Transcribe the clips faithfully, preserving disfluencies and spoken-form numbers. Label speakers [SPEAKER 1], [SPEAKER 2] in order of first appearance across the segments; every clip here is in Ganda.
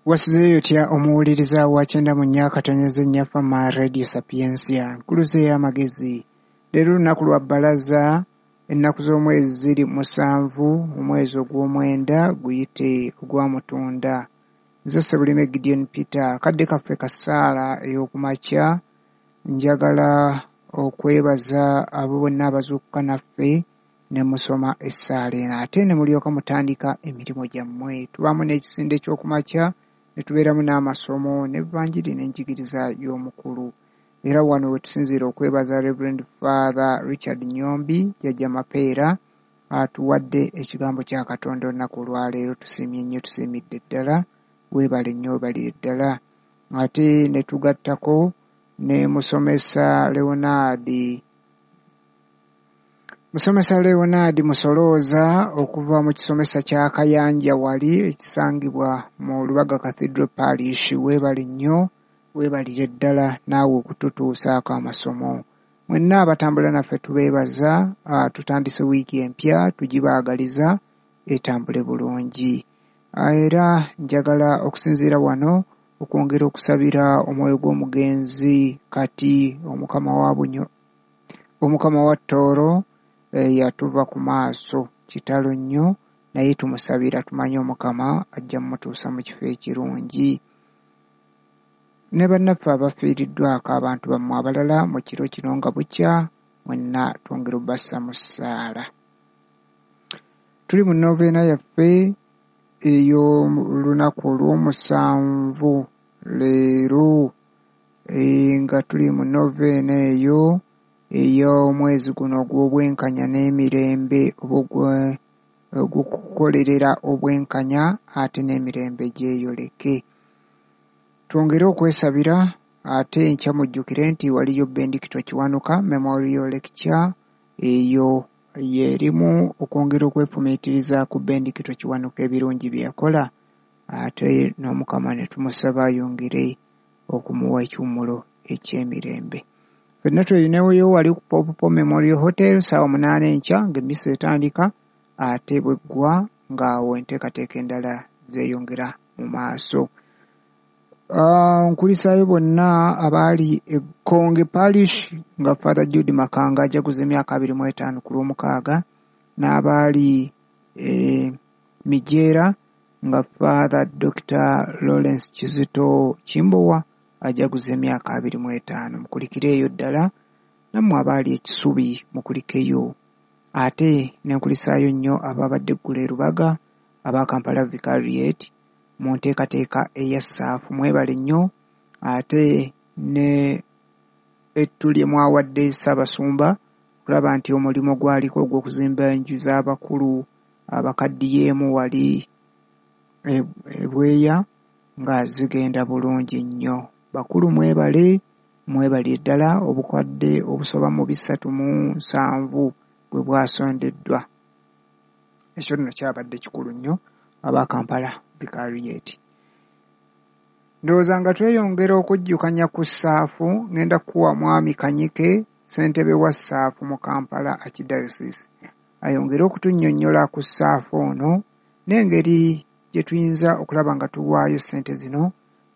[SPEAKER 1] Wasuzeeyo otya omuwuliriza wa kyenda mu nnya akatonyeze nnya Fama Radio Sapientia, nkuluze ey'amagezi. Leero lunaku lwa bbalaza, ennaku z'omwezi ziri musanvu, omwezi ogw'omwenda guyite ogwa Mutunda. Nze Ssebulime Gideon Peter, akadde kaffe ka ssaala ey'okumakya. Njagala okwebaza abo bonna abazuukuka naffe ne musoma essaala eno ate ne mulyoka mutandika emirimu gyammwe. Tubaamu n'ekisinde ky'okumakya ne tubeeramu n'amasomo n'evvanjiri n'enjigiriza y'omukulu. Era wano we tusinziira okwebaza Reverend Father Richard Nyombi, Jjajja Mapeera, atuwadde ekigambo kya Katonda olunaku olwaleero. Tusiimye nnyo, tusiimidde ddala, weebale nnyo, weebalire ddala. Ate ne tugattako ne musomesa Leonard Musomesa Leonard Musolooza okuva mu kisomesa kya Kayanja wali ekisangibwa mu Lubaga Cathedral Parish. Weebale nnyo, weebalire ddala naawe okututuusaako amasomo. Mwenna abatambula naffe tubeebaza, tutandise wiiki empya, tugibaagaliza etambule bulungi. Era njagala okusinziira wano okwongera okusabira omwoyo gw'omugenzi kati Omukama wa Bunyo, Omukama wa Tooro yatuva ku maaso, kitalo nnyo, naye tumusabira tumanye Omukama ajja mmutuusa mu kifo ekirungi. Ne bannaffe abafiiriddwako abantu bammwe abalala mu kiro kino nga bukya, mwenna twongera obbassa mu ssaala. Tuli mu noveena yaffe ey'olunaku olw'omusanvu leero, nga tuli mu noveena eyo ey'omwezi guno ogw'obwenkanya n'emirembe, oba ogw'okukolerera obwenkanya ate n'emirembe gyeyoleke. Twongere okwesabira ate enkya mujjukire nti waliyo Bendikito Kiwanuka Memorial Lecture, eyo y'erimu okwongera okwefumiitiriza ku Bendikito Kiwanuka ebirungi bye yakola, ate n'Omukama ne tumusaba ayongere okumuwa ekiwummulo eky'emirembe. Ffenna tweyineeyo wali ku Pope Paul Memorial Hotel ssaawa munaana enkya ng'emmisa etandika, ate bw'eggwa ng'awo enteekateeka endala zeeyongera mu maaso. Nkulisaayo bonna abaali e Kkonge Parish nga Father Jude Makanga ajaguza emyaka abiri mu etaano ku Lwomukaaga, n'abaali e Mijeera nga Father Doctor Lawrence Kizito Kimbowa ajaguza emyaka abiri mu etaano. Mukulikireeyo ddala, nammwe abaali e Kisubi mukulikeyo. Ate ne nkulisaayo nnyo ababadde eggulo e Lubaga aba Kampala Vicariate mu nteekateeka eya Ssaafu, mwebale nnyo. Ate ne ettu lye mwawadde Ssaabasumba okulaba nti omulimu gwaliko ogw'okuzimba enju z'abakulu abakaddiyeemu wali e Bweya nga zigenda bulungi nnyo. Bakulu mwebale, mwebalire ddala obukadde obusoba mu bisatu mu nsanvu bwe bwasondeddwa. Ekyo nno kyabadde kikulu nnyo aba Kampala Vicariate. Ndowooza nga tweyongera okujjukanya ku Ssaafu, ngenda kuwa Mwami Kanyike, ssentebe wa Ssaafu mu Kampala Archdiocese, ayongere okutunnyonnyola ku Ssaafu ono n'engeri gye tuyinza okulaba nga tuwaayo ssente zino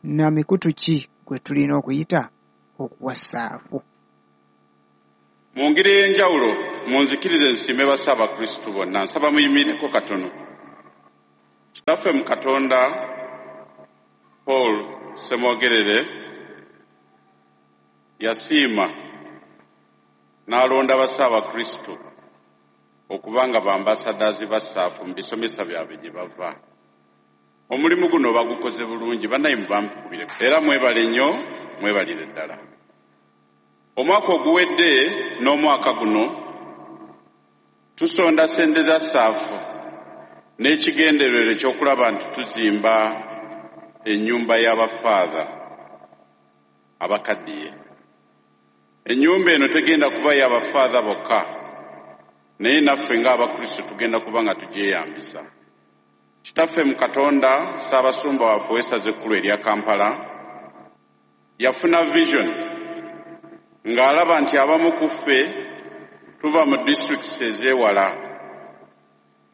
[SPEAKER 1] na mikutu ki gwe tulina okuyita okuwa Ssaafu.
[SPEAKER 2] Mu ngeri ey'enjawulo munzikirize nsiime Bassaabakristu bonna, nsaba muyimireko katono. Kitaffe mu Katonda Paul Ssemwogerere yasiima n'alonda Bassaabakristu okuba nga bambasadazi ba Ssaafu mu bisomesa byabwe gye bava. Omulimu guno bagukoze bulungi, bannaye mubampubire era mwebale nnyo, mwebalire ddala. Omwaka oguwedde n'omwaka guno tusonda ssente za Ssaafu n'ekigendererwa ekyokulaba nti tuzimba ennyumba y'abafaatha abakaddiye. Ennyumba eno tegenda kuba y'abafaatha bokka, naye naffe ng'Abakristo tugenda kuba nga tugyeyambisa. Kitaffe mu Katonda, Ssaabasumba waffe ow'essaza ekkulu erya Kampala, yafuna vision ng'alaba nti abamu ku ffe tuva mu districts ez'ewala,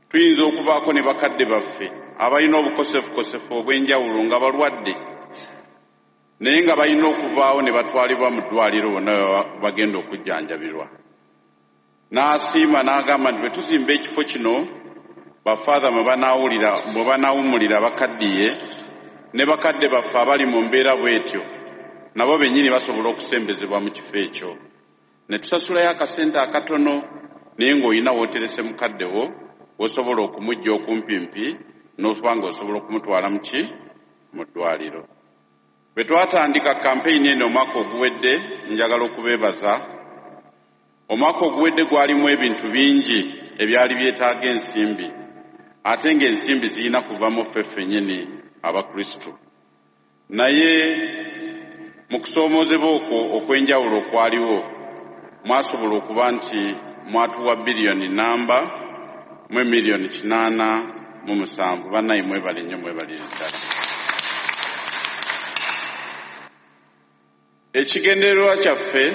[SPEAKER 2] tuyinza okubaako ne bakadde baffe abalina obukosefukosefu obw'enjawulo nga balwadde, naye nga balina okuvaawo ne batwalibwa mu ddwaliro bonna bagenda okujjanjabirwa. N'asiima n'agamba nti bwe tuzimba ekifo kino bafaatha mwe banaawulira mwe banaawummulira bakaddiye ne bakadde baffe abali mu mbeera bw'etyo nabo bennyini basobola okusembezebwa mu kifo ekyo. Ne tusasulayo akasente akatono, naye ng'olina w'oterese mukadde wo w'osobola okumujja okumpimpi n'okuba ng'osobola okumutwala mu ki mu ddwaliro. Bwe twatandika kampeyini eno omwaka oguwedde, njagala okubeebaza. Omwaka oguwedde gwalimu ebintu bingi ebyali byetaaga ensimbi, ate ng'ensimbi zirina kuva mu ffe ffennyini Abakristo. Naye mu kusoomoozebwa okwo okw'enjawulo okwaliwo, mwasobola okuba nti mwatuwa biliyoni namba mu miliyoni kinaana mu musanvu. Bannaye mwebale nnyo, mwebalire ddala. Ekigendererwa kyaffe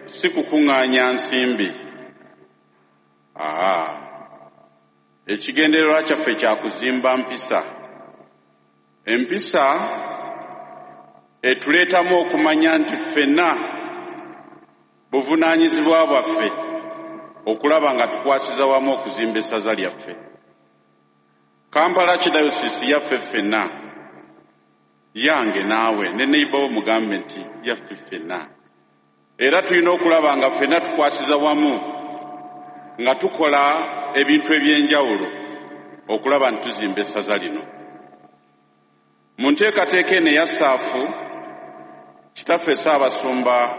[SPEAKER 2] si kukuŋŋaanya nsimbi. Aa, ekigendererwa kyaffe kya kuzimba mpisa. Empisa etuleetamu okumanya nti ffenna buvunaanyizibwa bwaffe okulaba nga tukwasiza wamu okuzimba essaza lyaffe. Kampala Archdiocese yaffe ffenna, yange naawe ne neighbor wo mugambe nti yaffe ffenna. Era tulina okulaba nga ffenna tukwasiza wamu nga tukola ebintu eby'enjawulo okulaba nti tuzimba essaza lino. Mu nteekateeka eno eya ssaafu, Kitaffe Ssaabasumba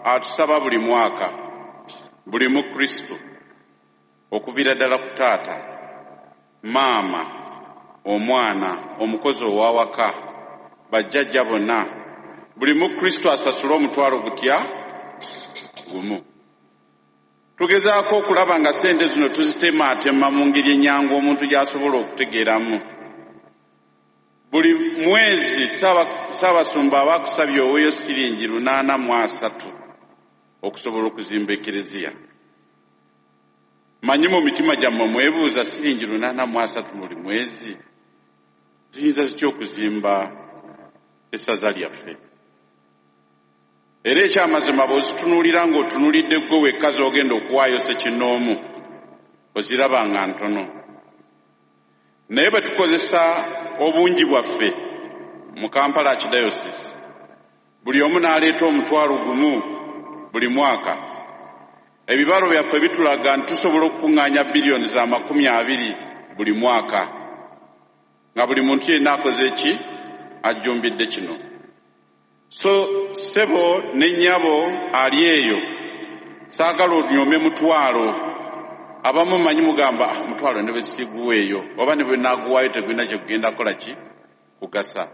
[SPEAKER 2] atusaba buli mwaka buli Mukristo okuviira ddala ku taata, maama, omwana, omukozi ow'awaka, bajjajja bonna, buli Mukristo asasule omutwalo gutya gumu. Tugezaako okulaba nga ssente zino tuzitemaatema mu ngeri ennyangu omuntu gy'asobola okutegeeramu. Buli mwezi Ssaabasumba aba akusabye oweeyo siringi lunaana mu asatu okusobola okuzimba ekereziya. Manyi mu mitima gyammwe mwebuuza siringi lunaana mu asatu buli mwezi ziyinza zitya okuzimba essaza lyaffe? Era ekyamazima bw'ozitunuulira ng'otunuulidde ggwe wekka z'ogenda okuwaayo ssekinnoomu, oziraba nga ntono. Naye bwe tukozesa obungi bwaffe mu Kampala Archdiocese, buli omu n'aleeta omutwalo gumu buli mwaka, ebibalo byaffe bitulaga nti tusobola okukuŋŋaanya biliyoni za makumi abiri buli mwaka, nga buli muntu yenna akoze ki ajjumbidde kino. So ssebo ne nnyabo ali eyo, saagala onyoome mutwalo. Abamu manyi mugamba ah, mutwalo ne bwe siguweeyo oba ne bwe naaguwaayo tegulina kye gugenda kukola ki kugasa.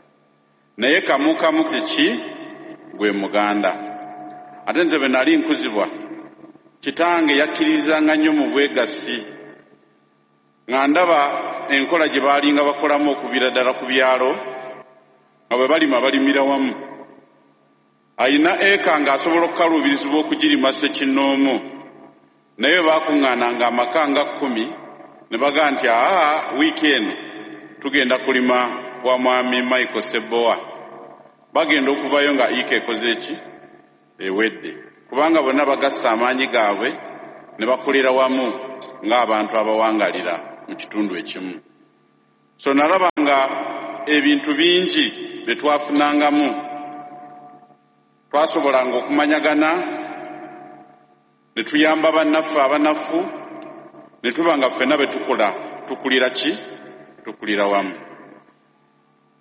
[SPEAKER 2] Naye kamu kamu kiki gwe muganda. Ate nze bwe nali nkuzibwa, kitange yakkirizanga nnyo mu bwegassi, nga ndaba enkola gye baalinga bakolamu okuviira ddala ku byalo, nga bwe balima balimira wamu. Ayina eka ng'asobola okukaluubirizibwa okugirima ssekinnoomu, naye baakuŋŋaananga amaka nga kkumi ne bagamba nti aa, wiiki eno tugenda kulima wa mwami Michael Ssebowa. Bagenda okuvayo nga ika ekoze eki ewedde, kubanga bonna bagassa amaanyi gaabwe ne bakolera wamu ng'abantu abawangalira mu kitundu ekimu. So nalaba nga ebintu bingi bye twafunangamu, twasobolanga okumanyagana ne tuyamba bannaffe abanafu, ne tuba nga ffenna bwe tukola tukulira ki tukulira wamu.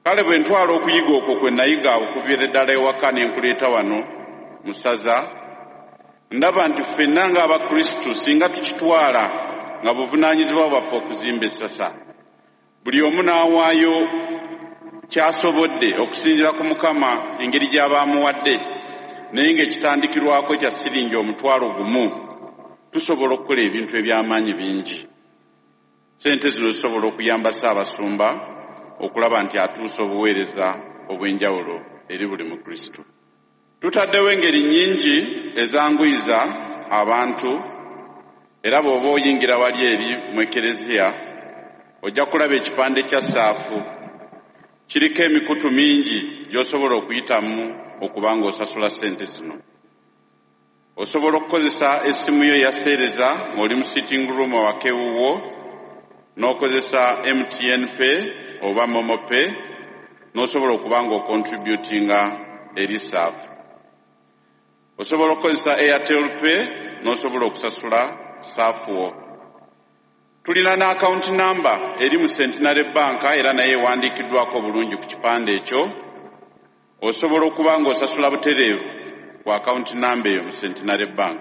[SPEAKER 2] Kale bwe ntwala okuyiga okwo kwe nayiga okuviira ddala ewaka ne nkuleeta wano mu ssaza, ndaba nti ffenna ng'Abakristo singa tukitwala nga buvunaanyizibwa bwaffe okuzimba essasa, buli omu n'awaayo ky'asobodde okusinziira ku Mukama engeri gy'aba amuwadde, naye ng'ekitandikirwako kya siringi omutwalo gumu, tusobola okukola ebintu eby'amaanyi bingi. Ssente zino zisobola okuyamba Ssaabasumba okulaba nti atuusa obuweereza obw'enjawulo eri buli Mukristo. Tutaddewo engeri nnyingi ezanguyiza abantu, era bw'oba oyingira wali eri mu ekereziya Ojja kulaba ekipande kya saafu kiriko emikutu mingi gy'osobola okuyitamu okuba ng'osasula ssente zino. Osobola okukozesa essimu yo eya seereza ng'oli mu sitting room awaka ewuwo, n'okozesa M T N Pay oba Momo Pay, n'osobola okuba ng'ocontributinga eri saafu. Osobola okukozesa Airtel Pay n'osobola okusasula saafu wo. Tulina n'account number eri mu Centenary Bank era naye ewandiikiddwako bulungi ku kipande ekyo. Osobola okuba ng'osasula butereevu ku account number eyo mu Centenary Bank.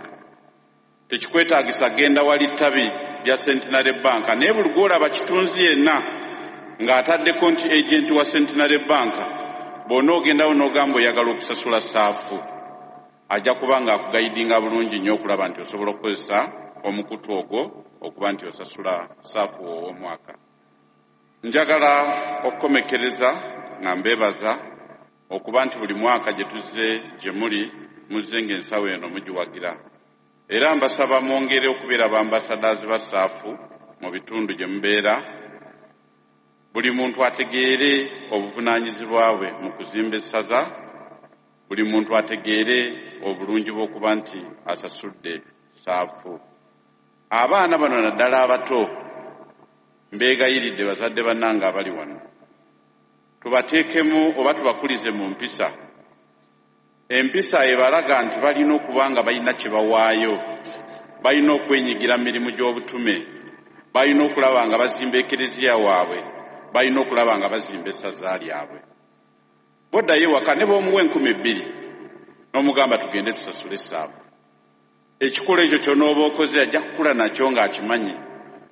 [SPEAKER 2] Tekikwetaagisa genda wali ttabi lya Centenary Bank, naye buli gw'olaba kitunzi yenna ng'ataddeko nti agent wa Centenary Bank, bw'onoogendawo n'ogamba oyagala okusasula saafu, ajja kuba ng'akugayidinga bulungi nnyo okulaba nti osobola okukozesa omukutu ogwo okuba nti osasula saafu ow'omwaka. Njagala okukomekkereza nga mbeebaza okuba nti buli mwaka gye tuzze gye muli muzze ng'ensawo eno mugiwagira. Era mbasaba mwongere okubeera b'ambasadaazi ba saafu mu bitundu gye mubeera. Buli muntu ategeere obuvunaanyizibwa bwe mu kuzimba essaza, buli muntu ategeere obulungi bw'okuba nti asasudde saafu. Abaana bano naddala abato mbeegayiridde bazadde bannange abali wano, tubateekemu oba tubakulize mu mpisa. Empisa ebalaga nti balina okuba nga balina kye bawaayo, balina okwenyigira mu mirimu gy'obutume, balina okulaba nga bazimba ekereziya waabwe, balina okulaba nga bazimba essaza lyabwe. Bw'oddayo ewaka ne bw'omuwa enkumi bbiri n'omugamba tugende tusasule essaabu, ekikolo ekyo ky'onooba okoze ajja kukula nakyo ng'akimanyi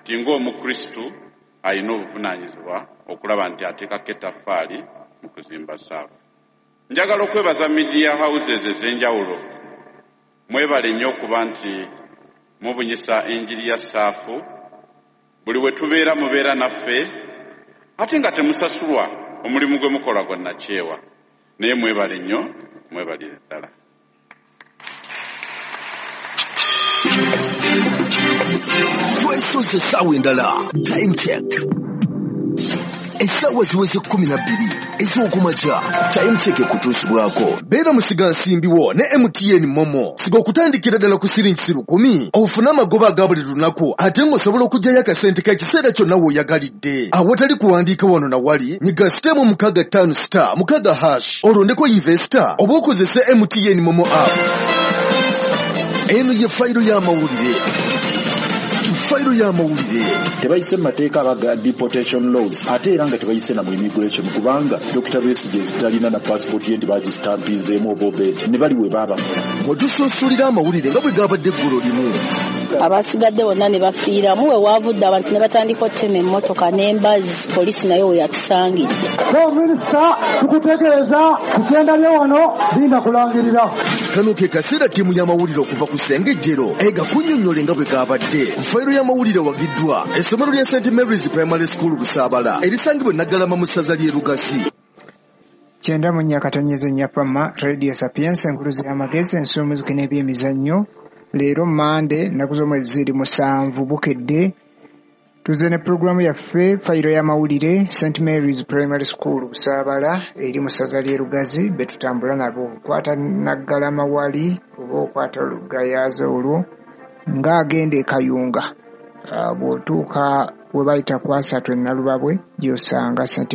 [SPEAKER 2] nti ng'Omukristu alina obuvunaanyizibwa okulaba nti ateekako ettaffaali mu kuzimba saafu. Njagala okwebaza media houses ez'enjawulo. Mwebale nnyo okuba nti mubunyisa enjiri ya saafu. Buli we tubeera mubeera naffe, ate nga temusasulwa omulimu gwe mukola gwa nnakyewa. Naye mwebale nnyo, mwebalire ddala.
[SPEAKER 3] Twesoze essaawa endala. Time check. Essaawa ziweze kkumi na bbiri ez'okumakya. Time check ekutuusibwako. Beera musigansimbi wo ne M T N Momo. Siga okutandikira ddala ku siringi lukumi ofune amagoba aga buli lunaku, ate ng'osobola okuggyayo akasente k'ekiseera kyonna w'oyagalidde. Awatali kuwandiika wano na wali, nyiga sitemu mukaaga ttaano star mukaaga hash olondeko investor oba okozese M T N Momo app. Eno ye fayiro y'amawulire. Fayiro y'amawulire.
[SPEAKER 4] Tebayise mu mateeka aga deportation laws, ate era nga tebayise na mu immigration, kubanga Dokita Besigye talina na passport ye nti bagistampinzeemu oba obed ne bali we baabakola.
[SPEAKER 3] Mwe amawulire nga bwe gabadde eggulo limu.
[SPEAKER 5] Abasigadde bonna ne bafiiramu, we waavudde abantu ne batandika ottema emmotoka n'embazi, poliisi nayo we yatusangidde.
[SPEAKER 6] Minisita tukutegeeza ku kyenda lyo wano linda kulangirira.
[SPEAKER 3] Kano ke kaseera ttiimu y'amawulire okuva ku Ssengejjero egakunnyonnyole nga bwe gabadde. Fayiro y'amawulire wagiddwa essomero lya Saint Mary's Primary School Busaabala erisangibwa e Naggalama mu ssaza ly'e Lugazi.
[SPEAKER 1] Kyenda mu nnya katonyeze nnya Fama Radio Sapiens, enkuluzi y'amagezi, ensumuziki n'ebyemizannyo. Leero Mmande ennaku z'omwezi ziri musanvu bukedde. Tuzze ne pulogulaamu yaffe fayiro y'amawulire Saint Mary's Primary School Busaabala eri mu ssaza ly'e Lugazi be tutambula nabo. Okwata Naggalama wali oba okwata Lugayaaza olwo ng'agenda e Kayunga. Bw'otuuka we bayita ku asatu e Nalubabwe gy'osanga Saint